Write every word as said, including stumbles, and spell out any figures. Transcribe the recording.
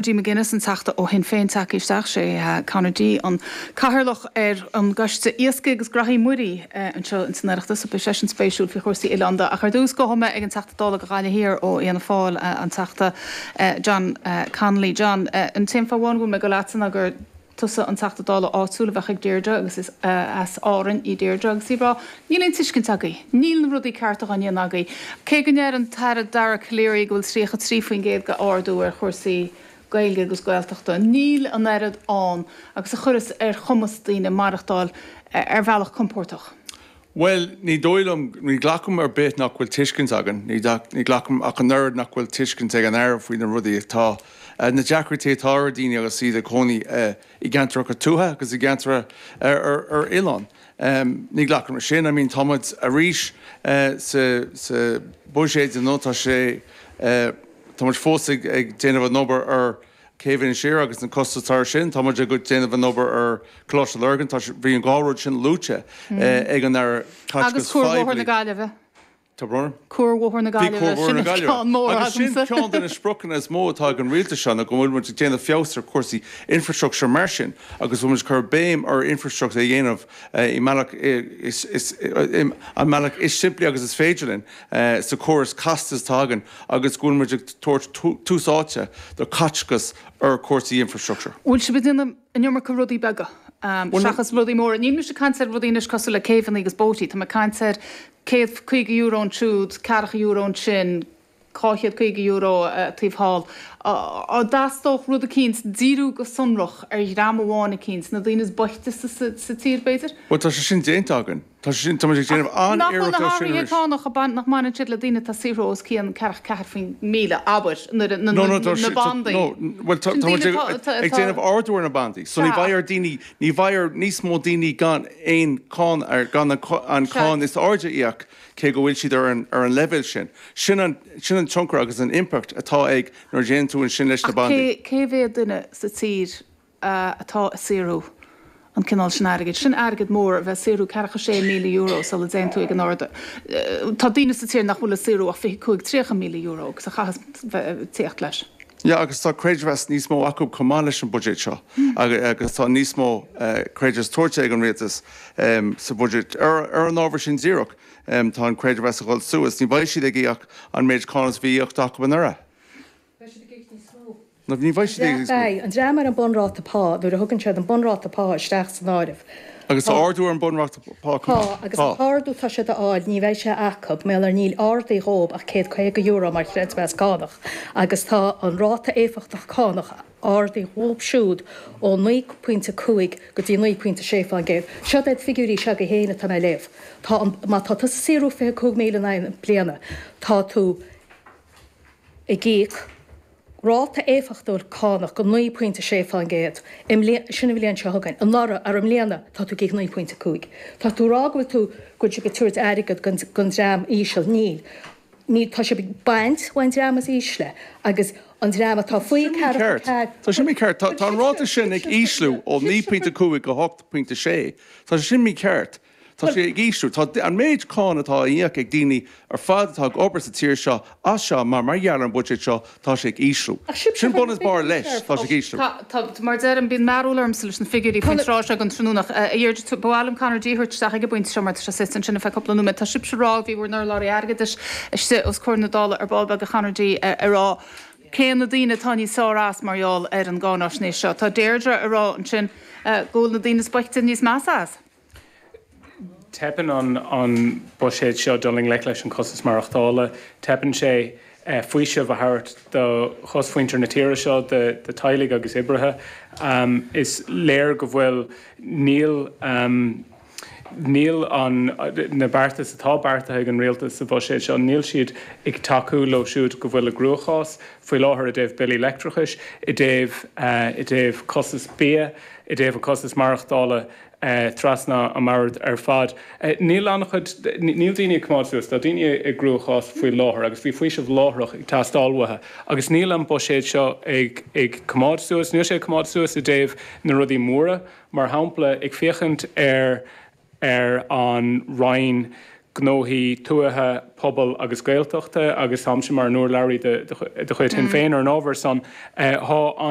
D. McGuinness an Teachta ó Shinn Féin tagtha isteach sé Conor D an cathaoirleach ar an gCoiste Iascaigh agus Graithí Muirí anseo in san Oireachtas beidh sé sin spéisiúil faoi chúrsaí oileánda ach ar dtús gabhfaidh mé ag an Teachta Dála do Ghaillimh Thiar ó Fhianna Fáil an Teachta John Connolly. John an t-aon fáth amháin go bhfuil mé ag dul leatsa ná gur tusa an Teachta Dála áitiúil a bheadh ag Deirdre agus is as Árainn í Deirdre agus í rá níl aon tuiscint agaibh, níl na rudaí cearta á ndéanamh agaibh. Cé go ndeir an tAire Dara Calleary go bhfuil tríocha trí faoin gcéad de ardú ar chúrsaí Gaeilge agus Gaeltachta. Níl an oiread ann agus a chuireas ar chumas daoine maireachtáil ar bhealach compordach. Well, ní dóigh liom ní ghlacaim ar bith nach bhfuil tuiscint againn, ní ní ghlacaim ach an oiread nach bhfuil tuiscint ag an Aire faoi na rudaí atá na deacrachtaí atá ar daoine agus iad ag cónaí i gceantracha tuaithe agus i gceantra ar ar oileán. Um, ní ghlacaim sin, I mean tá muid arís uh, sa, sa buiséad nó tá sé uh, Tá muid fós ag, ag déanamh an obair ar Céibh Siar agus na costais tar sin, Tá muid ag déanamh an obair ar Choláiste Lurgan, tá bhí an dhá rud sin luaite mm. ag an Aire Agus Cuarbhóthar na Gaillimhe. Tá brón? Cuarbhóthar na Gaillimhe sin ceann mór Agus sin ceann de na spriocanna is mó atá ag an rialtas seo go bhfuil muid ag déanamh feabhas ar cúrsaí infrastructure mar sin agus bhfuil muid cur béim ar infrastructure a dhéanamh i mbealach an mbealach is simplí agus is féidir linn sa córas casta atá againn agus go bhfuil muid ag tabhairt tús áite do chaiteachas ar cúrsaí infrastructure. Bhfuil sibh déanamh an iomarca rudaí beaga seachas rudaí móra. Níl mise caint ar rudaí anois cosúil le céibheanna agus bóithre, Tá mé caint ar céad caoga euro ansiúd, ceathracha euro ansin, dhá chéad caoga euro taobh thall. An dteastódh rud eicínt díriú go sonrach ar dhream amháin eicínt, na daoine is boichte sa tír b'fhéidir? Well tá sé sin déanta againn. Tá sé sin tá muid ag déanamh Nach bhfuil na hathruithe cánach nach mbaineann siad le daoine atá saothrú os cionn ceathracha ceathair faoin míle, abair, nuair na bandaí. No, well tá muid ag déanamh ardú ar na bandaí. So ní bheidh ar daoine ní bheidh ar níos mó daoine gan aon cáin ar gan an cáin is airde íoc cé go bhfuil siad ar an ar an leibhéal sin. Sin an sin an tionchar agus an impact atá ag nuair déanann tú an sin leis na bandaí. Cé mhéad duine sa tír atá ag saothrú an cineál sin airgid. Sin airgead mór a bheith saothrú ceathracha sé míle euro sula dtéann tú ag an ard. Tá daoine sa tír nach bhfuil ag saothrú ach fiche cúig tríocha míle euro agus a chaithfeas tíocht leis. Ja, agus tá creidmheas níos mó acu chomh maith leis an budget seo agus tá níos mó creidmheas tabhartha ag an rialtas sa budget ar ar an ábhar sin díreach tá an creidmheas a dhul suas, ní bheidh siad ag íoc an méid cáin is bhí íoctha acu anuraidh. Beidh siad ag íoc níos mó. No, ní bheidh siad ag íoc níos mó. Beidh. An dream ar an bunráta pá, nuair a thugann siad an bunráta pá isteach san áireamh. Agus tá ardú ar an bunráta pá chomh maith. Tá, agus an t-ardú atá siad a fháil, ní bheidh sé acu, mar níl ardaithe dhóibh ach céad caoga euro mar chreidmheas cánach, agus tá an ráta éifeachtach cánach ardaithe dhóibh siúd ó naoi pointe cúig go dtí naoi pointe sé fán gcéad. Seo iad figiúirí s'agaibh féin atá mé a léamh. Tá an, má tá tusa ag saothrú fiche cúig míle in aghaidh na bliana, tá tú ag íoc ráta éifeachtúil cánach go naoi pointe sé fán gcéad i mbliana, sin an bhliain seo chugainn. Anuraidh, ar i mbliana, tá tú ag íoc naoi pointe cúig. Tá tú ag rá go bhfuil tú, go bhfuil sibh ag tabhairt airgead don, don dream íseal. Níl. Níl, tá sibh ag baint ón dream is ísle agus an dream atá faoi Tá sin mícheart. Tá sin mícheart. Tá, tá an ráta sin ag ísliú ó naoi pointe cúig go hocht pointe sé. Tá sé sin mícheart. Tá sé ag ísliú. Tá an méid cáin atá á íoc ag daoine ar fad atá ag obair sa tír seo as seo mar mar gheall ar an buiséad seo, tá sé ag ísliú. Sin bun is barr leis, tá sé ag ísliú. Tá, tá, mar deirim, bíonn mearbhall ormsa leis na figiúirí faoin tráth seo den tráthnóna. A Dheirdre, ba mhaith liom Conor D a thabhairt isteach ag an bpointe seo mar tá sé suite ansin ar feadh cúpla nóiméad. Tá sibhse ag rá, bhí bhur n-urlabhraí airgeadais istigh os comhair na Dála ar ball beag a Chonor D ag rá cé na daoine atá níos fearr as mar gheall ar an gcáináisnéis seo. Tá Deirdre ag rá ansin go bhfuil na daoine is boichte níos measa as. Teipeann an an buiséad seo dul i ngleic leis an costas maireachtála. Teipeann sé faoiseamh a thabhairt do chosmhuintir na tíre seo, do teaghlaigh agus oibrithe. Is léir go bhfuil níl níl an na beartais atá beartaithe ag an rialtas sa bhuiséad seo, níl siad ag tacú leo siúd go bhfuil i gcruachás faoi láthair i dtaobh billí leictreachais, i dtaobh i dtaobh costas bia, i dtaobh an costas maireachtála. trasna an mbord ar fad. Níl an-chuid, níl daoine ag coimeád suas, tá daoine i gcruachás faoi láthair agus bhí faoiseamh láithreach ag teastáil uathu agus níl an buiséad seo ag ag coimeád suas, níl sé ag coimeád suas i dtaobh na rudaí móra, mar shampla ag féachaint ar ar an Roinn Gnóthaí Tuaithe, Pobail agus Gaeltachta agus táimse mar an urlabhraí de chuid Shinn Féin ar an ábhar san. Tá an.